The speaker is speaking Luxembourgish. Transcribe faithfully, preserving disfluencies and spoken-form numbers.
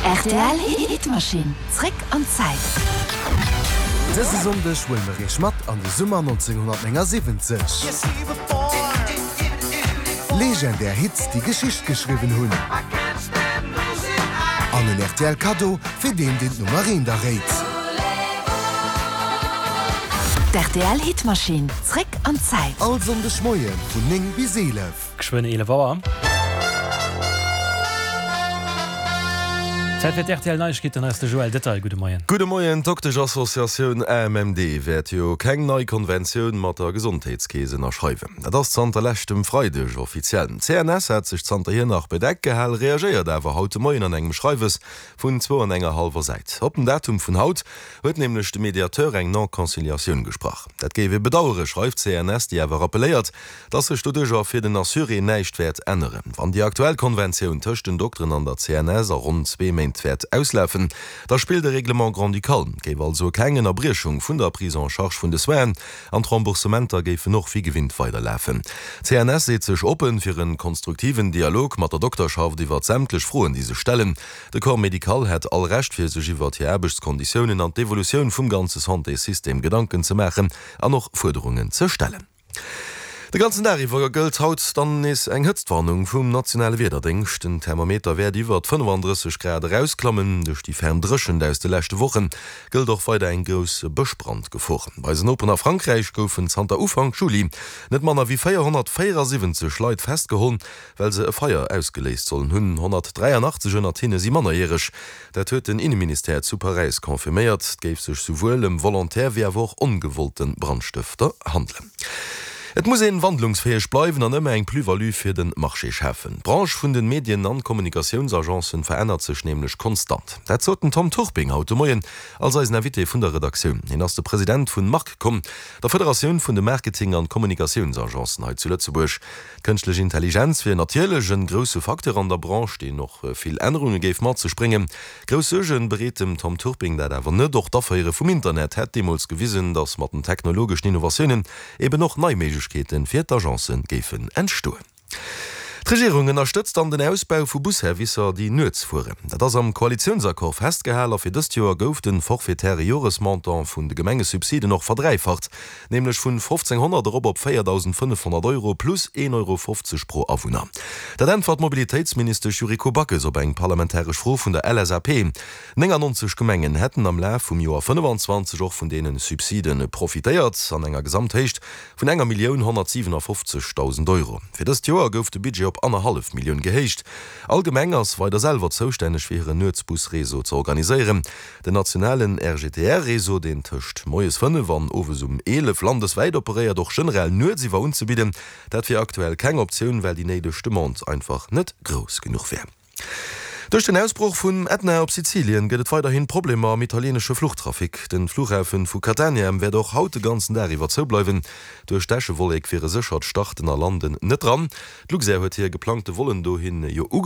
R T L Hitmaschinn. Zréck an d'Zäit. Dëse Sonndeg huele mer iech mat an de Summer nonzénghonnertnéngasiwwenzeg. Legendär Hits, déi Geschicht geschriwwen hunn. An en R T L Kaddo fir deen, deen d'Nummer eent erréit. D R T L Hitmaschinn. Zréck an d'Zäit. All Sonndeg Moie vun néng bis eelef. Geschwënn eelef Auer. Zäit fir d'R T L Neiegkeeten, hei ass de Joël Detail. Gudde Moien. Gudde Moien. D'Doktesch-Associatioun A M M D wäert jo keng nei Konventioun mat der Gesondheetskeess ënnerschreiwen. Dat ass zanter leschtem Freideg offiziell. D' C N S hat sech zanterhier nach bedeckt gehal, reagéiert awer haut de Moien an engem Schreiwes vun zwou an enger hallwer Säit. Op den Datum vun haut huet nämlech de Mediateur eng Non-Conciliatioun gesprach. Dat géif ee bedauere, schreift d'C N S, déi awer rappelléiert, dass sech doduercher fir den Assuré näischt wäert änneren. Wann déi aktuell Konventioun tëscht den Dokteren an der C N S a ronn zwee Méint wäert auslafen, da spillt de Règlement grand-ducal, géif also keng Ënnerbriechung vun der Prise en charge vun de Soinen an d'Remboursementer géifen och wéi gewinnt weiderlafen. D' C N S seet sech oppen fir e konstruktiven Dialog mat der Dokterschaft iwwert sämtlech Froen, déi sech stellen. De Corps médical hätt all Recht fir sech iwwert hir Aarbechtskonditiounen an d'Evolutioun vum ganze Santéssystem Gedanken ze maachen an och Fuerderungen ze stellen. De ganzen Dag iwwer gëllt haut dann nees eng Hëtztwarnung vum nationale Wiederdéngscht. Den Thermometer wäert iwwert fënnefandrësseg Grad erausklammen. Duerch déi ferm Dréchent aus de leschte Woche gëllt och weider eng grouss Bëschbrandgefor. Bei eisen Noperen a Frankräich goufen zanter Ufank Juli net manner wéi véierhonnertvéierasiwwenzeg Leit festgeholl, well se e Feier ausgeléist sollen hunn. honnertdräianachtzeg ënnert hinne si mannerjäreg. Dat huet den Inneministère zu Paräis confirméiert. Et géif sech souwuel ëm volontaire wéi awer och ongewollte Brandstëfter handelen. Et muss een wandlungsfäeg bleiwen an ëmmer eng Plus-value fir den Marché schafen. D'Branche vun den Medien an Kommunikatiounsagencen verännert sech nämlech konstant. Dat sot den Tom Turping haut de Moien als eisen Invité vun der Redaktioun. Hien ass de President vun MarkCom, der Federatioun vun de Marketing an Kommunikatiounsagencen hei zu Lëtzebuerg. Kënschtlech Intelligenz wier natierlech en grousse Facteur an der Branche, deen och vill Ännerunge géif mat sech bréngen. Grouss Suergen bereet dem Tom Turping dat awer net. Och d'Aféiere vum Internet hätt deemools gewisen, datt mat den technologeschen Innovatiounen eben och nei Méiglechkeete fir d'Agencen géifen entstoen. D'Regierung ënnerstëtzt dann den Ausbau vu Busservicer, déi nuets fueren. Dat ass am Koalitiounsaccord festgehalen a fir dëst Joer gouf de forfaitäre Joresmontant vun de Gemengesubsiden och verdräifacht, nämlech vun fofzénghonnert erop op véierdausendfënnefhonnert Euro plus een Euro fofzeg pro Awunner. Dat äntwert d'Mobilitéitsministesch Yuriko Backes op eng parlamentaresch Fro vun der L S A P. Néngannonzeg Gemengen hätten am Laf vum Joer fënnefanzwanzeg och vun deene Subside profitéiert, an enger Gesamthéicht vun enger Millioun honnertsiwenafoffzegdausend Euro. Fir dëst Joer gouf de Budget op annerhallef Millioun gehéicht. All Gemeng ass weider selwer zoustänneg fir hiren Nuetsbusreseau ze organiséieren. Den nationalen R G T R-Réseau, deen tëscht moies fënnef an owes um eelef landeswäit operéiert, och generell nuetsiwwer unzebidden, dat wier aktuell keng Optioun, well déi néideg Demande einfach net grouss genuch wär. Duerch den Ausbroch vum Ätna op Sizilien gëtt et weiderhin Problemer am italienesche Fluchtrafic. Den Fluchhafen vu Catania wäert och haut de ganzen Dag iwwer zoubleiwen. Duerch d'Äschewollek wiere séchert Starten a Landen net dran. D'Luxair huet hir geplangte Vollen dohin jo